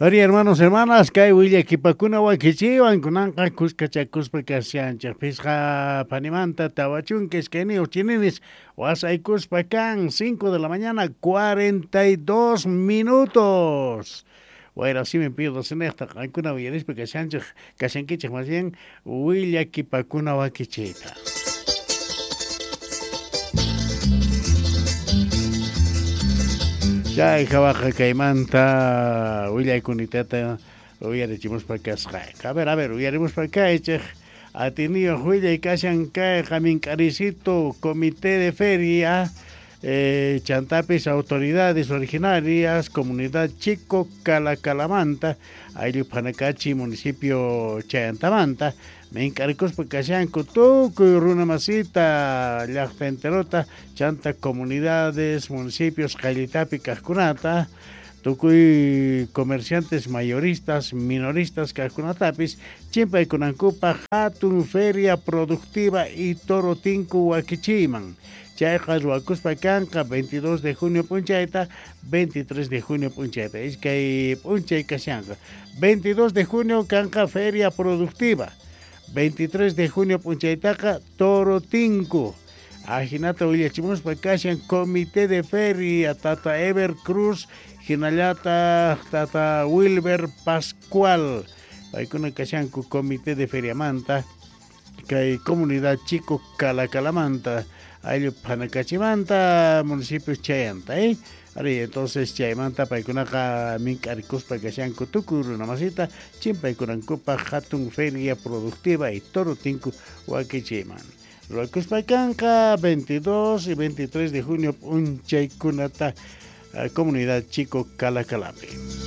Ari, hermanos, hermanas, kay willakipakuna wakichiwan kunanqa kuskachakuspa kashanchik pisqa panimanta 42 chininis wasaykuspa kan 5 de la mañana 42 minutos. Wayra simi pido sinejta qankuna uyarispa kashanchik kashankichik más bien willakipakuna wakichita. Chay hawaqa kaymanta willaykunitata uyarichimuspa kasqa. A ver, uyarimuspa kaychik atiniyuq willay kashan kayqa mink'arisito comité de feria chantapis autoridades originarias comunidad Chico Calacalamanta ayllu Phanakachi municipio Chayantamanta mink'arikuspa kashanku tukuy runa masita llaqta enterota chanta comunidades municipios qayllitapi kaqkunata tukuy comerciantes mayoristas minoristas kaqkunatapis chimpaykunankupaq hatun feria productiva y toro tinku wakichiyman. Chayqa ruwakuspa kanqa 22 de junio p'unchayta 23 de junio p'unchayta iskay p'unchay kashanqa 22 de junio kanqa feria productiva 23 de junio p'unchaytaqa toro tinku ajinata willachimuspa kashan comité de feria tata Ever Cruz hinallataq tata Wilber Pascual. Paykuna kashanku comité de feriamanta kay comunidad Chico Calacalamanta ayllu Phanakachimanta municipio Chayanta Ari, entonces chaymanta paykunaqa mink'arikuspa kashanku tukuy runa masita chimpaykunankupaq hatun feria productiva y toro tinku wakichiyman. Ruwakuspa kanqa 22 y 23 de junio p'unchaykunata comunidad Chico Calacalapi.